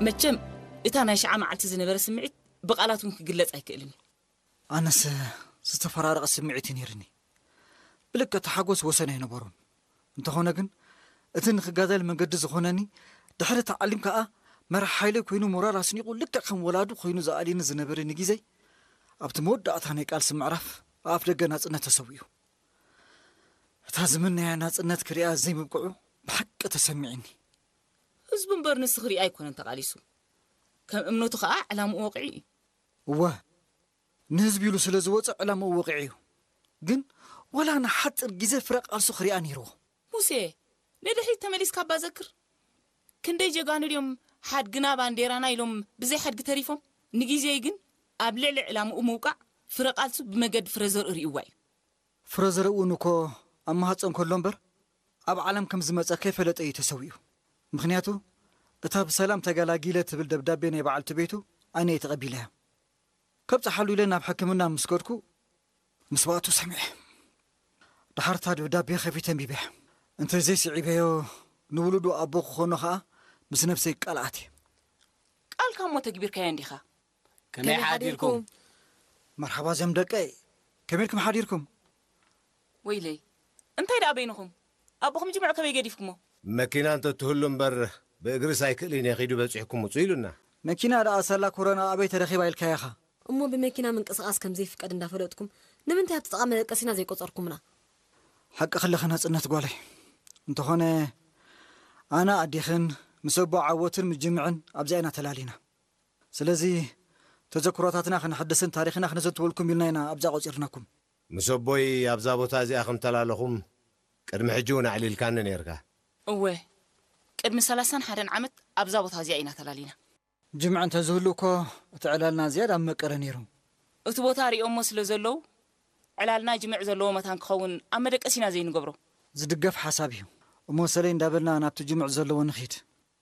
መቸም እታ ናይ ሽዓ መዓልቲ ዝነበረ ስምዒት ብቓላት እውን ክግለጽ ኣይክእልን እዩ። ኣነስ ዝተፈራረቐ ስምዒት እዩ ነይርኒ። ብልክዕ እቲ ሓጎስ ወሰን ኣይነበሮን። እንተኾነ ግን እቲ ንክጋደል መንገዲ ዝኾነኒ ድሕሪ ተዓሊም ከኣ መራሕ ሓይለይ ኮይኑ ሞራል ኣስኒቑ ልክዕ ከም ወላዱ ኮይኑ ዝኣልየኒ ዝነበረ ንጊዜይ ኣብቲ መወዳእታ ናይ ቃልሲ ምዕራፍ ኣብ ኣፍ ደገ ናጽነት ተሰዊኡ። እታ ዝምነያ ናጽነት ክሪኣ ዘይምብቅዑ ብሓቂ ተሰሚዕኒ። ህዝቡ እምበር ንሱ ክሪኣ ኣይኮነን ተቓሊሱ። ከም እምነቱ ከኣ ዕላምኡ ወቂዑ እዩ። እወ ንህዝቢ ኢሉ ስለ ዝወፀ ዕላምኡ ወቂዑ እዩ። ግን ዋላ ንሓፂር ግዜ ፍረ ቃልሱ ክሪኣ ነይርዎ። ሙሴ ንድሕሪት ተመሊስካ እባ ዘክር። ክንደይ ጀጋኑ ድዮም ሓድግና ባንዴራና ኢሎም ብዘይ ሓድጊ ተሪፎም። ንግዜይ ግን ኣብ ልዕሊ ዕላምኡ ምውቃዕ ፍረ ቃልሱ ብመገዲ ፍረ ዘርኢ ርእይዋ እዩ። ፍረ ዘርኢ እውን እኮ ኣብ ማህፀን ከሎ እምበር ኣብ ዓለም ከም ዝመፀ ከይፈለጠ እዩ ተሰዊኡ። ምኽንያቱ እታ ብሰላም ተገላጊለ ትብል ደብዳቤ ናይ በዓልቲ ቤቱ ኣነ እየ ተቐቢለያ። ከብፅሓሉ ኢለ ናብ ሕክምና ምስ ከድኩ ምስዋእቱ ሰሚዐ። ድሓር እታ ደብዳቤ ከፊተ ኣንቢበያ። እንተዘይስዒበዮ ንውሉዱ ኣቦ ክኾኖ ኸኣ ምስ ነብሰይ ቃል ኣትየ። ቃልካ እሞ ተግቢርካዮ እንዲኻ። ከመይ ሓዲርኩም? መርሓባ ዞም ደቀይ፣ ከመይ ኢልኩም ሓዲርኩም? ወይለይ እንታይ ደኣ በይንኹም? ኣቦኹም ጅምዕ ከመይ ገዲፍኩሞ? መኪና እንተትህሉ እምበር ብእግርስ ኣይክእልን እየ ኺዱ በጺሕኩም ውጹ ኢሉና። መኪና ደኣ ሳላ ኮረና ኣበይ ተረኺባ ኢልካያ ኢኻ? እሞ ብመኪና ምንቅስቓስ ከም ዘይፍቀድ እንዳፈለጥኩም ንምንታይ ኣብቲ ጥቓ መደቀሲና ዘይቆጸርኩምና? ሓቂ ክለኺ ናጽነት ጓለይ። እንተኾነ ኣነ ኣዴኽን ምስ ኣቦ ዓወትን ምስ ጅምዕን ኣብዚኣ ኢና ተላሊና። ስለዚ ተዘክሮታትና ክነሐድስን ታሪኽና ክነዘትወልኩም ኢልና ኢና ኣብዛ ቆጺርናኩም። ምስ ኣቦይ ኣብዛ ቦታ እዚኣ ከም ተላለኹም ቅድሚ ሕጂ እውን ኣዕሊልካኒ ነይርካ። እወ፣ ቅድሚ ሰላሳን ሓደን ዓመት ኣብዛ ቦታ እዚኣ ኢና ተላሊና። ጅምዕ እንተዝህሉ እኮ እቲ ዕላልና ዝያዳ ምመቀረ ነይሩ። እቲ ቦታ ሪኦሞ ስለ ዘለዉ ዕላልና ጅምዕ ዘለዎ መታን ክኸውን ኣብ መደቀሲና ዘይንገብሮ። ዝድገፍ ሓሳብ እዩ። እሞ ሰለይ እንዳበልና ናብቲ ጅምዕ ዘለዎ ንኺድ።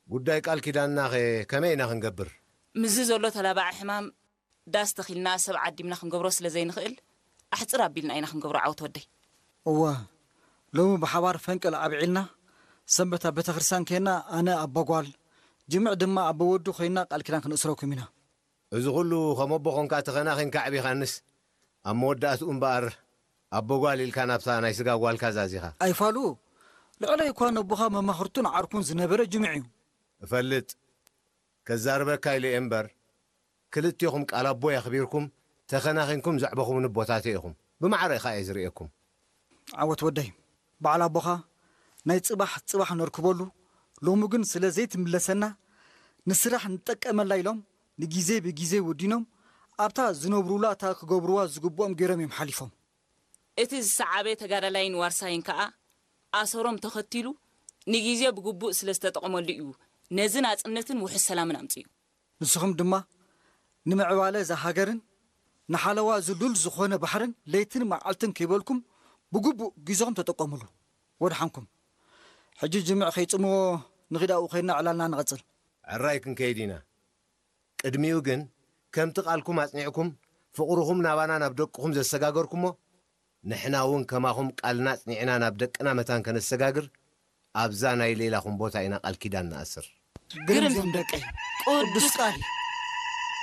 ጉዳይ ቃል ኪዳንናኸ ከመይ ኢና ክንገብር? ምስዚ ዘሎ ተላባዒ ሕማም ዳስ ተኺልና ሰብ ዓዲምና ክንገብሮ ስለ ዘይንኽእል ኣሕጽር ኣቢልና ኢና ክንገብሮ ዓወት ወደይ። እወ ሎሚ ብሓባር ፈንቅል ኣብዒልና ሰንበት ኣብ ቤተክርስትያን ኬና ኣነ ኣቦ ጓል ጅምዕ ድማ ኣቦ ወዱ ኮይና ቃል ኪዳን ክንእስረኩም ኢና። እዚ ኩሉ ከም ኣቦ ኾንካ ተኸናኺንካ ኣዕቢኻንስ ኣብ መወዳእትኡ እምበኣር ኣቦ ጓል ኢልካ ናብታ ናይ ስጋ ጓልካ ዛዚኻ። ኣይፋሉ ልዕለይ እኳ ነቦኻ መማኽርቱን ዓርኩን ዝነበረ ጅምዕ እዩ። እፈልጥ ከዛርበካ ኢለ እየ እምበር ክልቴኹም ቃል ኣቦይ ኣኽቢርኩም ተኸናኺንኩም ዘዕበኹምኒ ኣቦታተይ ኢኹም። ብማዕረ ኢኻ እየ ዝርእየኩም። ዓወት ወደይ፣ በዓል ኣቦኻ ናይ ጽባሕ ጽባሕ ነርክበሉ፣ ሎሚ ግን ስለ ዘይትምለሰና ንስራሕ ንጠቀመላ ኢሎም ንጊዜ ብጊዜ ወዲኖም ኣብታ ዝነብሩላ እታ ክገብርዋ ዝግብኦም ገይሮም እዮም ሓሊፎም። እቲ ዝሰዓበ ተጋዳላይን ዋርሳይን ከኣ ኣሰሮም ተኸቲሉ ንጊዜ ብግቡእ ስለ ዝተጠቐመሉ እዩ ነዚ ናጽነትን ውሑስ ሰላምን ኣምጺኡ። ንስኹም ድማ ንምዕባለ እዛ ሃገርን ንሓለዋ እዚ ሉል ዝኾነ ባሕርን ለይትን መዓልትን ከይበልኩም ብግቡእ ግዜኹም ተጠቀምሉ። ወድሓንኩም። ሕጂ ጅምዕ ከይጽምዎ ንኺድ ኣብኡ ኸይድና ዕላልና ንቐጽል። ሕራይ ክንከይድ ኢና። ቅድሚኡ ግን ከምቲ ቃልኩም ኣጽኒዕኩም ፍቕርኹም ናባና ናብ ደቅኹም ዘሰጋገርኩሞ ንሕና እውን ከማኹም ቃልና ኣጽኒዕና ናብ ደቅና መታን ከነሰጋግር ኣብዛ ናይ ሌላኹም ቦታ ኢና ቃል ኪዳን ንኣስር። ግርም ዞም ደቀይ ቅዱስ ቃል እዩ።